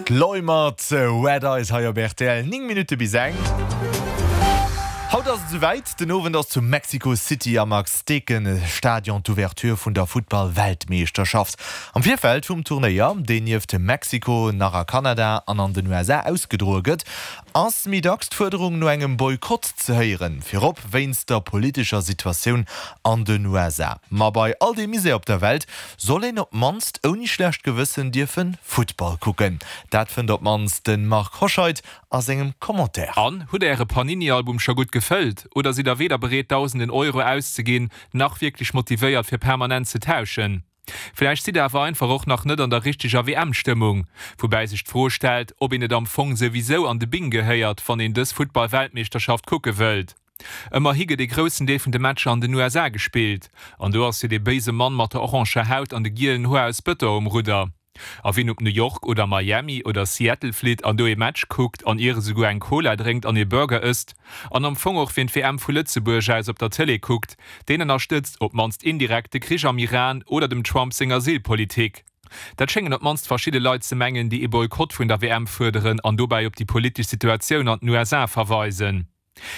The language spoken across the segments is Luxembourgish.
D'Loi mat Red Eyes hei op rtl, 9 Minutte bis eng. Haut ass et esouwäit, Den Owend ass zu Mexico City am Azteken-Stadion d'Ouverture vun der Futtball-Weltmeeschterschaft. Am Virfeld vum Turnéier, deen nieft Mexiko nach a Kanada an an den USA ausgedroe gëtt, ass méi dacks d'Fuerderung no engem Boykott ze héieren, virop wéinst der politescher Situatioun an den USA. Ma bei all deem Misär op der Welt soll een op d'mannst ouni schlecht Gewëssen dierfe Futtball kucken. Dat fënnt op d'mannst de Marc Hoscheid a sengem Commentaire. An, hutt der äre Panini-Album scho gutt gefëllt oder sidd der weder bereet dausenden Euro auszeginn, nach wierklech motivéiert fir permanent ze tauschen? Vläicht sidd der awer einfach och nach net an der richteger WM-Stëmmung. Woubäi sech d'Fro stellt, ob een net am Fong souwisou an de Bing gehéiert, wann een dës Futtball-Weltmeeschterschaft kucke wëllt. Ëmmerhi gëtt ee groussen Deel vun de Matcher an den USA gespillt. An do ass jo dee béise Mann mat der oranger Haut an de gielen Hoer aus Bëton um Rudder. A wien op New York oder Miami oder Seattle flitt an do ee Match kuckt an ier esouguer eng Cola drénkt an ee Burger ësst, an am Fong och wien d'WM vu Lëtzebuerg aus op der Tëlee kuckt, deen ënnerstëtzt, op d'mannst indirekt, de Krich am Iran oder dem Trump seng Asylpolitik. Dat schéngen op d'mannst verschidde Leit ze mengen, déi ee Boykott vun der WM fuerderen an dobäi op déi politesch Situatioun an den USA verweisen.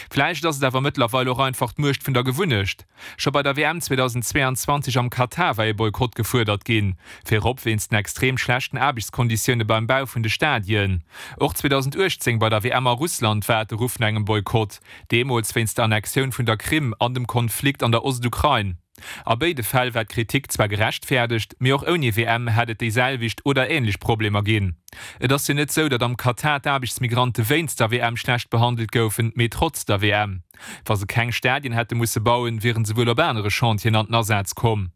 Vläicht ass et awer mëttlerweil och einfach d'Muecht vun der Gewunnecht. Scho bei der WM 2022 am Katar war ee Boykott gefuerdert ginn, virop wéinst den extrem schlechten Aarbechtskonditioune beim Bau vun de Stadien. Och 2018 bei der WM a Russland war et de Ruff no engem Boykott, deemools wéinst der Annexioun vun der Krim an dem Konflikt an der Ostukrain. A béide Fäll war d'Kritik zwar gerechtfäerdegt, mee och ouni WM hätt et déi selwecht oder änlech Problemer ginn. Et ass jo net sou, datt am Katar d'Aarbechtsmigrante wéinst der WM schlecht behandelt goufen, mee trotz der WM. Wa se keng Stadien hätte musse bauen, wieren se wuel op anere Chantieren an den Asaz komm.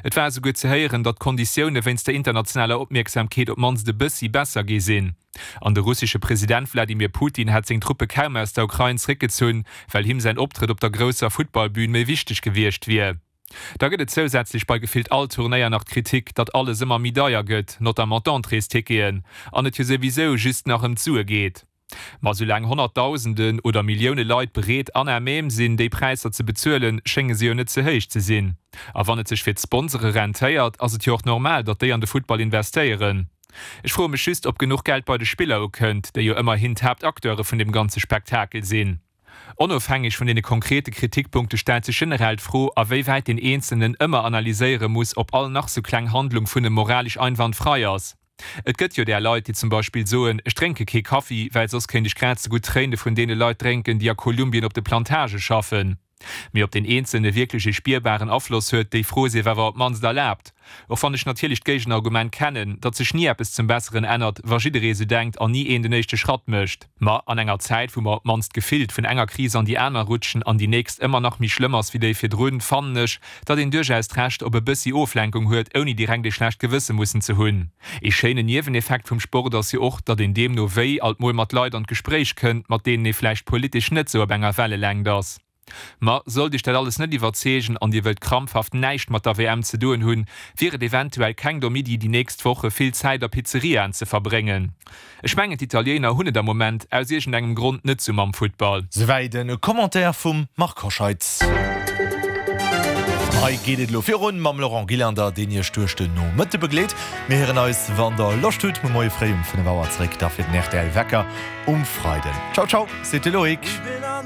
Et war esouguer ze héieren, datt d'Konditioune wéinst der internationaler Opmierksamkeet op d'mannst e bëssi besser gi sinn. An de russesche President Wladimir Putin hätt seng Truppe kaum aus der Ukrain zeréckgezunn, well him säin Optrëtt op der grousser Futtballbün méi wichteg gewiescht wier. Da gëtt et zousätzlech bei gefillt all Turnéier nach d'Kritik, datt alles ëmmer méi deier gëtt, notamment d'Entréesticketen, an et jo souwisou just nach ëm d'Sue geet. Ma soulaang Honnertdausenden oder Millioune Leit bereet an à même sinn, déi Präisser ze bezuelen, schénge se jo net ze héich ze sinn. A wann et sech fir d'Sponsore rentéiert, ass et jo och normal, datt déi an de Futtball investéieren. Ech froe mech just, ob genuch Geld bei de Spiller ukënnt, déi jo ëmmerhin d'Haaptacteure vun deem ganze Spektakel sinn. Onofhängeg vun deene konkrete Kritikpunkte stellt sech generell d'Fro, a wéi wäit deen Eenzelnen ëmmer analyséiere muss, ob all nach sou kleng Handlung vun em moralesch einwandfrei ass. Et gëtt jo där Leit, déi zum Beispill soen, ech drénke kee Kaffi, well soss kéint ech grad sou gutt d'Tréine vun deene Leit drénken, déi a Kolumbien op de Plantage schaffen. Mee ob deen Eenzelne wierklech ee spierbaren Afloss huet, déi Fro sief awer op d'mannst erlaabt. Och wann ech natierlech d'Géigenargument kennen, datt sech ni eppes zum Besseren ännert, wa jidderee sou denkt an ni een den éischte Schratt mécht. Ma an enger Zäit, wou mer op d'mannst gefillt vun enger Kris an déi aner rutschen an déi nächst ëmmer nach méi schlëmm ass wéi déi virdrun, fannen ech, datt een duerchaus d'Recht op e bëssi Oflenkung huet, ouni direkt ee schlecht Gewësse mussen ze hunn. Ee schéinen Nieweneffekt vum Sport ass jo och, datt een deemno wéi alt mol mat Leit an d'Gespréich kënnt, mat deenen ee vläicht politesch net sou op enger Wellelängt ass. Ma sollt iech dat alles net iwwerzeegen an dir wëllt krampfhaft näischt mat der WM ze doen hunn, wier et eventuell keng domm Iddi, déi nächst Woche vill Zäit a Pizzeriaen ze verbréngen. Ech mengen d'Italiener hunn et am Moment aus iergendengem Grond net sou mam Futtball. Souwäit e Commentaire vum Marc Hoscheid. Hei geet et elo virun mam Laurent Gillander, deen Iech duerch den Nomëtte begleet. Mir héieren eis, wann der Loscht hutt, muer Moie fréi um 5 Auer zeréck, da fir den rtl Wecker um Freiden. Ciao ciao, seet de Loïc.